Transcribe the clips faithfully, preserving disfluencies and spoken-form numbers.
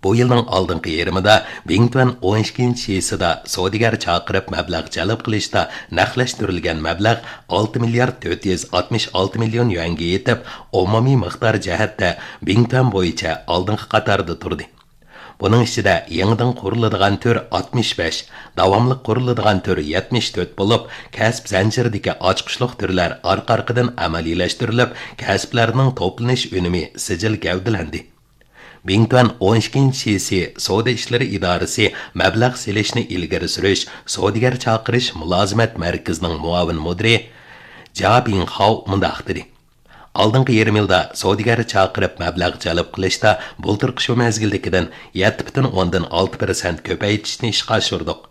بۇ يىلنىڭ ئالدىنقى يېرىمىدا بىڭتۈەن ئون ئىككىنچى شىسىدا سودىگەر چاقىرىپ مەبلەغ جەلپ قىلىشتا نەقلەشتۈرۈلگەن مەبلەغ ئالتە مىليارد تۆت يۈز ئاتمىش ئالتە مىليون يۈەنگە يېتىپ، ئومۇمىي مىقدار جەھەتتە بىڭتۈەن بويىچە ئالدىنقى قاتاردا تۇردى. بۇنىڭ ئىچىدە يېڭىدىن قۇرۇلىدىغان تۈر ئاتمىش بەش، داۋاملىق قۇرۇلىدىغان تۈر يەتمىش تۆت بولۇپ، كەسىپ زەنجىرىدىكى ئاچقۇچلۇق تۈرلەر ئارقا-ئارقىدىن ئەمەلىيلەشتۈرۈلۈپ، كەسىپلەرنىڭ توپلىنىش ئۈنۈمى سىجىل گەۋدىلەندى. بىڭتۈەن ئون ئىككىنچى شىسى سودا ئىشلىرى ئىدارىسى مەبلەغ سېلىشنى ئىلگىرى سۈرۈش سودىگەر چاقىرىش مۇلازىمەت مەركىزىنىڭ مۇئاۋىن مۇدىرى جيا بىڭخاۋ مۇنداق دېدى: ئالدىنقى يېرىم يىلدا سودىگەر چاقىرىپ مەبلەغ جەلپ قىلىشتا بۇلتۇرقى شۇ مەزگىلدىكىدىن يەتتە پۈتۈن ئوندىن ئالتە پىرسەنت كۆپەيتىشنى ئىشقا ئاشۇردۇق.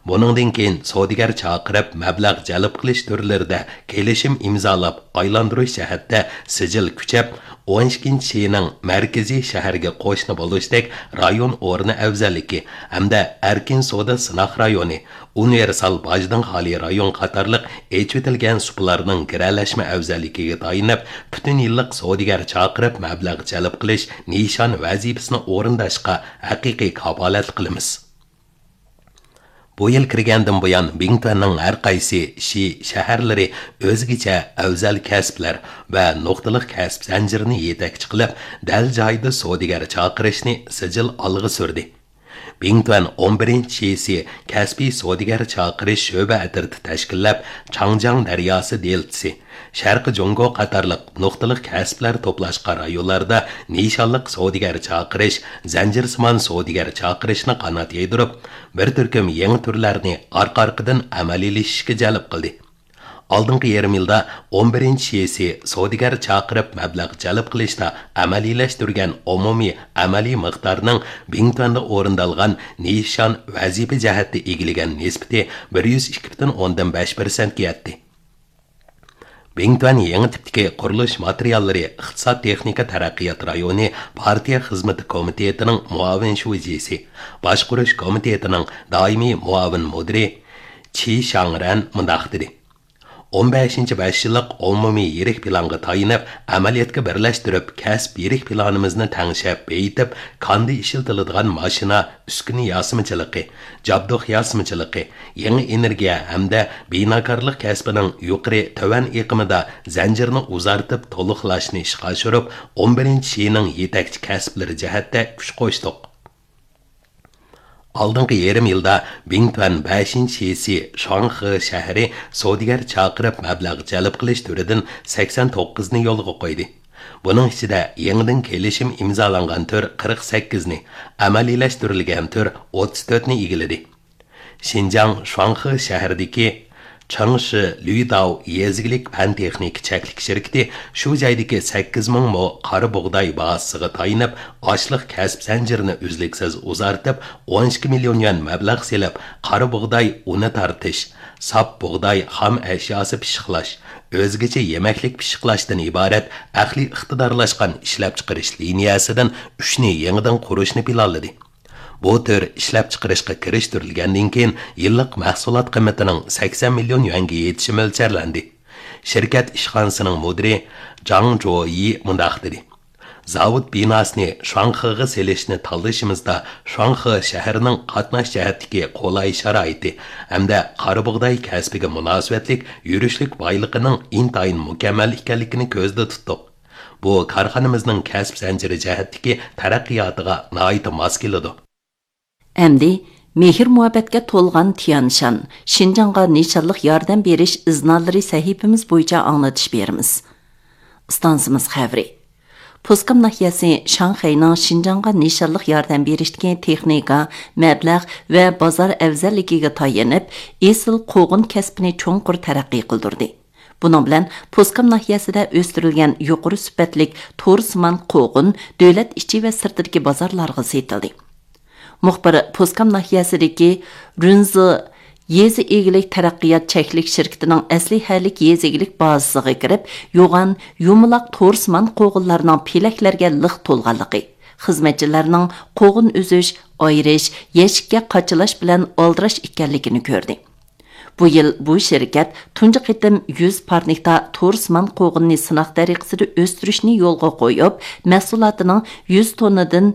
بۇنىڭدىن كېيىن سودىگەر چاقىرىپ مەبلەغ جەلپ قىلىش تۈرلىرىدە كېلىشىم ئىمزالاپ ئايلاندۇرۇش جەھەتتە سىجىل كۈچەپ، ئون ئىككىنچى شىنىڭ مەركىزىي شەھەرگە قوشنا بولۇشتەك رايون ئورنى ئەۋزەللىكى ھەمدە ئەركىن سودا سىناق رايونى، ئۇنىۋېرسال باجدىن خالىي رايون قاتارلىق ئېچىۋېتىلگەن سۇپىلارنىڭ گىرەلەشمە ئەۋزەللىكىگە تايىنىپ، پۈتۈن يىللىق سودىگەر چاقىرىپ مەبلەغ جەلپ قىلىش نىشان ۋەزىپىسىنى ئورۇنداشقا ھەقىقىي كاپالەتلىك قىلىمىز. بۇ يىل كىرگەندىن بۇيان، بىڭتۈەننىڭ ھەر قايسى شى شەھەرلىرى ئۆزگىچە ئەۋزەل كەسىپلەر ۋە نۇقتىلىق كەسىپ زەنجىرىنى يېتەكچى قىلىپ، دەل جايىدا سودىگەر چاقىرىشنى سىجىل ئالغا سۈردى. بىڭتۈەن ئون بىرىنچى شىسى كەسپىي سودىگەر چاقىرىش شۆبە ئەترىتى تەشكىللەپ، چاڭجياڭ دەرياسى دېلتىسى، شەرقىي جۇڭگو قاتارلىق نۇقتىلىق كەسىپلەر توپلاشقان رايونلاردا نىشانلىق سودىگەر چاقىرىش، زەنجىرسىمان سودىگەر چاقىرىشنى قانات يايدۇرۇپ، بىر تۈركۈم يېڭى تۈرلەرنى ئارقا-ئارقىدىن ئەمەلىيلىشىشكە جەلپ قىلدى. ئالدىنقى يېرىم يىلدا ئون بىرىنچى شىسى سودىگەر چاقىرىپ مەبلەغ جەلپ قىلىشتا ئەمەلىيلەشتۈرگەن ئومۇمىي ئەمەلىي مىقدارنىڭ بىڭتۈەندە ئورۇندالغان نىشان ۋەزىپە جەھەتتە ئىگىلىگەن نىسبىتى بىر يۈز ئىككى پۈتۈن ئوندىن بەش پىرسەنتكە يەتتى. بىڭتۈەن يېڭى تىپتىكى قۇرۇلۇش ماتېرىياللىرى ئىقتىساد تېخنىكا تەرەققىيات رايونى پارتىيە خىزمىتى كومىتېتىنىڭ مۇئاۋىن شۇجىسى، باشقۇرۇش كومىتېتىنىڭ دائىمىي مۇئاۋىن مۇدىرى چى شاڭرەن مۇنداق دېدى: ئون بەشىنچى بەش يىللىق ئومۇمىي يىرىك پىلانغا تايىنىپ، ئەمەلىيەتكە بىرلەشتۈرۈپ، كەسىپ يىرىك پىلانىمىزنى تەڭشەپ بېيىتىپ، كاندا ئىشلىتىلىدىغان ماشىنا، ئۈسكۈنە ياسىمىچىلىقى، جابدۇق ياسىمىچىلىقى، يېڭى ئېنېرگىيە ھەمدە بىناكارلىق كەسپىنىڭ يۇقىرى، تۆۋەن ئېقىمىدا زەنجىرنى ئۇزارتىپ تولۇقلاشنى ئىشقا ئاشۇرۇپ، ئون بىرىنچى شىنىڭ يېتەكچى كەسىپلىرى جەھەتتە كۈچ قوشتۇق. ئالدىنقى يېرىم يىلدا بىڭتۈەن بەشىنچى شىسى شاڭخې شەھىرى سودىگەر چاقىرىپ مەبلەغ جەلپ قىلىش تۈرىدىن سەكسەن توققۇزنى يولغا قويدى. بۇنىڭ ئىچىدە يېڭىدىن كېلىشىم ئىمزالانغان تۈر قىرىق سەككىزنى، ئەمەلىيلەشتۈرۈلگەن تۈر ئوتتۇز تۆتنى ئىگىلىدى. شىنجاڭ شۇاڭخې شەھىرىدىكى چېڭشى لۈيداۋ يېزا ئىگىلىك پەن تېخنىكا چەكلىك شىركىتى شۇ جايدىكى سەككىز مىڭ مو قارا بۇغداي بازىسىغا تايىنىپ، ئاشلىق كەسىپ زەنجىرىنى ئۈزلۈكسىز ئۇزارتىپ، ئون ئىككى مىليون يۈەن مەبلەغ سېلىپ، قارا بۇغداي ئۇنى تارتىش، ساپ بۇغداي خام ئەشياسى پىششىقلاش، ئۆزگىچە يېمەكلىك پىششىقلاشتىن ئىبارەت ئەقلىي ئىقتىدارلاشقان ئىشلەپچىقىرىش لىنىيەسىدىن ئۈچنى يېڭىدىن قۇرۇشنى پىلانلىدى. بۇ تۈر ئىشلەپچىقىرىشقا كىرىشتۈرۈلگەندىن كېيىن، يىللىق مەھسۇلات قىممىتىنىڭ سەكسەن مىليون يۈەنگە يېتىشى مۆلچەرلەندى. شىركەت ئىشخانىسىنىڭ مۇدىرى جاڭ جويى مۇنداق دېدى: زاۋۇت بىناسىنى شۇاڭخېغا سېلىشنى تاللىشىمىزدا، شۇاڭخې شەھىرىنىڭ قاتناش جەھەتتىكى قولاي شارائىتى ھەمدە قارا بۇغداي كەسپىگە مۇناسىۋەتلىك يۈرۈشلۈك بايلىقىنىڭ ئىنتايىن مۇكەممەل ئىكەنلىكىنى كۆزدە تۇتتۇق. بۇ كارخانىمىزنىڭ كەسىپ زەنجىرى جەھەتتىكى تەرەققىياتىغا ناھايىتى ماس كېلىدۇ. ئەمدى مېھىر-مۇھەببەتكە تولغان تيەنشان، شىنجاڭغا نىشانلىق ياردەم بېرىش ئىزنالىرى سەھىپىمىز بويىچە ئاڭلىتىش بېرىمىز. ئىستانسىمىز خەۋىرى. پوسكام ناھىيەسى شاڭخەينىڭ شىنجاڭغا نىشانلىق ياردەم بېرىشتىكى تېخنىكا، مەبلەغ ۋە بازار ئەۋزەللىكىگە تايىنىپ، ئېسىل قوغۇن كەسپىنى چوڭقۇر تەرەققىي قىلدۇردى. بۇنىڭ بىلەن پوسكام ناھىيەسىدە ئۆستۈرۈلگەن يۇقىرى سۈپەتلىك تورسىمان قوغۇن دۆلەت ئىچى ۋە سىرتىدىكى بازارلارغا سېتىلدى. مۇخبىر پوسكام ناھىيەسىدىكى رۇنزى يېزا ئىگىلىك تەرەققىيات چەكلىك شىركىتىنىڭ ئەسلىھەلىك يېزا ئىگىلىك بازىسىغا كىرىپ، يوغان يۇمىلاق تورسىمان قوغۇنلارنىڭ پېلەكلەرگە لىق تولغانلىقى، خىزمەتچىلەرنىڭ قوغۇن ئۈزۈش، ئايرىش، يەشىككە قاچىلاش بىلەن ئالدىراش ئىكەنلىكىنى كۆردى. بۇ يىل بۇ شىركەت تۇنجى قېتىم يۈز پارنىكتا تورسىمان قوغۇننى سىناق تەرىقىسىدە ئۆستۈرۈشنى يولغا قويۇپ، مەھسۇلاتىنىڭ يۈز توننىدىن